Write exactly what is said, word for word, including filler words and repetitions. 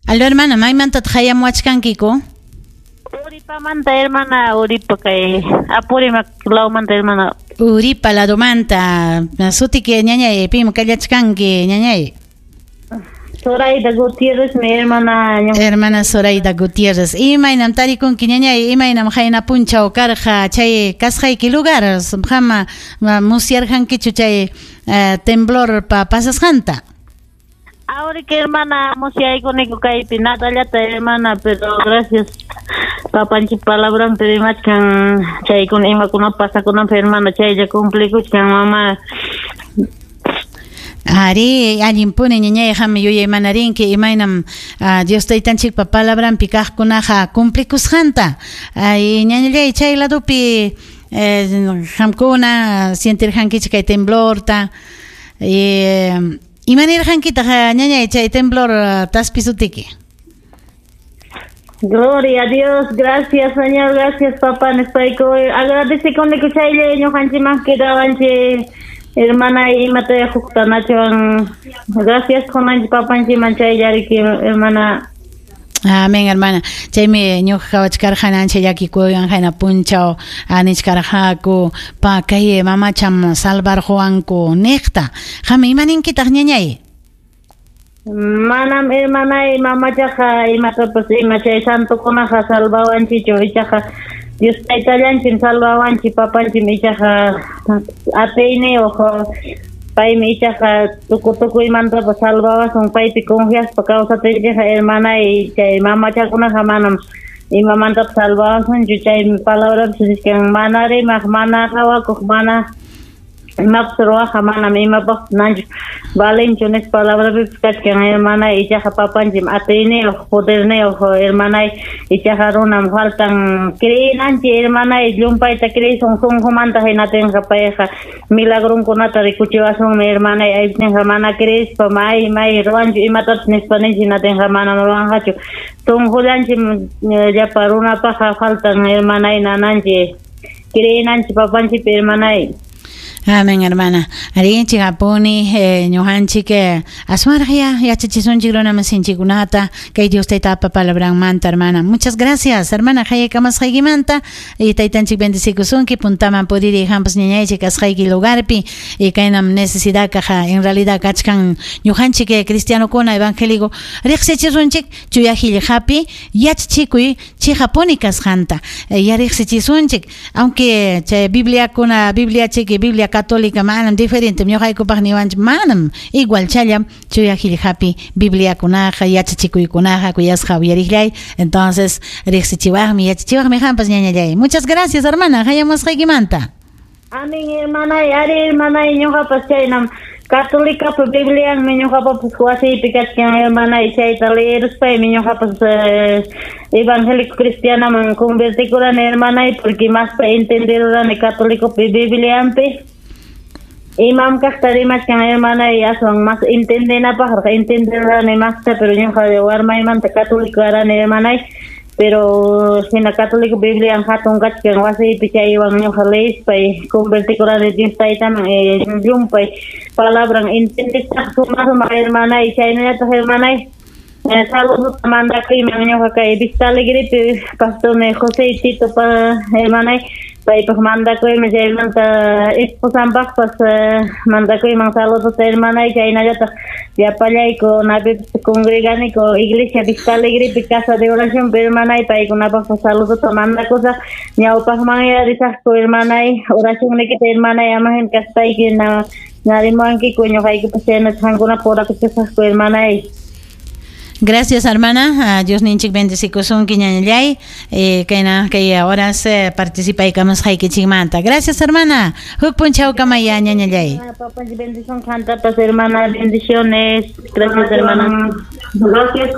Aló, hermana, maymantataq hayamuwachkankiku? Uripamanta, hermana, Uripa kay Apurímac lawmanta, hermana. Uripa ladomanta. Sutiki, ñañay, pim kallachkanki, ñañay? Zoraida Gutiérrez, mi hermana. Hermana Zoraida Gutiérrez. Imaynam tarikunki, ñañay, imaynam qayna punchaw karqa chay kasqayki lugar, qama musyarqankichu chay eh, temblor pa pasasqanta? Ahora que hermana, musyaykuniko kaypi nadallata, hermana, pero gracias papanchik palabranpi rimachkan chaykuna imakuna pasakunanpaq, hermana, chaylla cumplikuchkan, mamá. Ari, allinpuni, ñañay, qam yuyaymanarinki imaynam uh, Dios taytanchikpa palabranpi kaqkunaqa cumplikusqanta. Ay, ñañallay, chay ladopi eh, qamkuna sientirqankichik kay temblorta. Eh, imanirqankitaq, ñañay, chay temblor taspisutiki? Gloria a Dios, gracias Señor, gracias papá, nispayku agradecekuniku chaylla ñuqanchikman quedawanchik, hermana, imata huktanachwan gracias qunanchik papanchikman chayllariki, hermana. Amén, hermana. Chaymi ñuqa qawachkarqani ancha llakikuywan qayna punchaw nichkarqaku pa kay mamacham salvarquwanku niqta. Qam imaninkitaq, ñañay? Manam, hermanay, mamachaqa imatapas ima chay santokunaqa salvawanchikchu, ichaqa Dios taytallanchik salvawanchik, papanchik ichaqa atiyniyuq, paymi ichaqa tukuy tukuymantapas salvawasun paypi confiaspa kawsaptinchikqa, hermanay. Chay mamachakunaqa manam imamantapas salvawasunchu, chay palabrapi nichkan mana rimaq, mana qawakuq, mana imapas ruwaqqa manam imapaqpas nanchu valenchu nispa palabrapipas kachkan, hermanay. Ichaqa papanchik atiyniyuq, poderniyuq, hermanay, ichaqa runam faltan creenanchik, hermanay, llumpayta creesun sunqumanta, hinatinqa payqa milagronkunata rikuchiwasunmi, hermanay. Aypinqa mana creespa may may ruwanchu imatapas nispa ninchik, hinatinqa manam ruwanqachu. Sunqullanchik llapa runapaqqa faltan, hermanay, nananchik creenanchik papanchikpi, hermanay. Amén, hermana. Arinchik apuni eh, ñuqanchik eh, aswanraq ya yachachisunchik runamasinchikkunata kay Dios taytapa palabranmanta, hermana. Muchas gracias, hermana, hayakamasqaykimanta y taytanchik bendecikusunki puntaman puriri hampas ñañaychik kasqayki lugarpi y kaynam necesidad kaja en realidad kachkan ñuqanchik eh, cristianokuna evangélico riqsichisunchik chuya qillqapi yachachikuy chiqapuni kasqanta. Eh, ya riqsichisunchik, aunque chay Bibliakuna, Biblia chiki, Biblia católica manam diferente ñuqaykupaq niwanchik, manam igual challam chuya qillqapi Bibliakunaqa yachachikuykunaqa, kuyasqa uyariqllay. Entonces riqsichiwaqmi, yachachiwaqmi qampas, ñañallay. Muchas gracias, hermana, hayamusqaykimanta. Amén, hermanay. Ari, hermanay, ñuqapas chaynam católicapa Biblianmi ñuqapapas wasiypi kachkan, hermanay, chayta leeruspaymi ñuqapas eh, evangélico cristianaman convertikurani, hermanay, porque maspa entenderurani católicopi Biblianpi imam kaqta rimachkan, hermanay, aswan mas entendenapaqraq entenderurani masta, pero ñuqa warmaymanta católico karani, hermanay, pero hina católico Biblian hatun kachkan wasiypi, chaywan ñuqa leespay convertikurani Dios taytaman, eh, llumpay palabran entendesaq sumaq sumaq, hermanay. Chaynallataq, hermanay, eh, saludota mandakuyman ñuqa kay Vista Alegrepi pastorni José Tito pa, hermanay, paypaq mandakuyman, chaymanta esposanpaqpas eh, mandakuyman saludota, hermanay. Chaynallataq llapallayku napipas congreganiku iglesia Vista Alegrepi casa de oración, hermanay, paykunapaqpas saludota mandakusaq. Ñawpaqmanya risaqku, hermanay, oracionnikita, hermanay, amahin kaspayki na narimuwankiku, ñuqaykupas chaynata qamkunapaq orakuchkasaqku, hermanay. Gracias, hermana. Dios ninchik bendecikusunki, ñañallay. Eh, kayna kay horas eh, participaykamusqaykichikmanta. Gracias, hermana. Huk punchawkamaya, ñañallay. Papanchik bendición qantapas, hermana, bendiciones. Gracias, hermana. Gracias,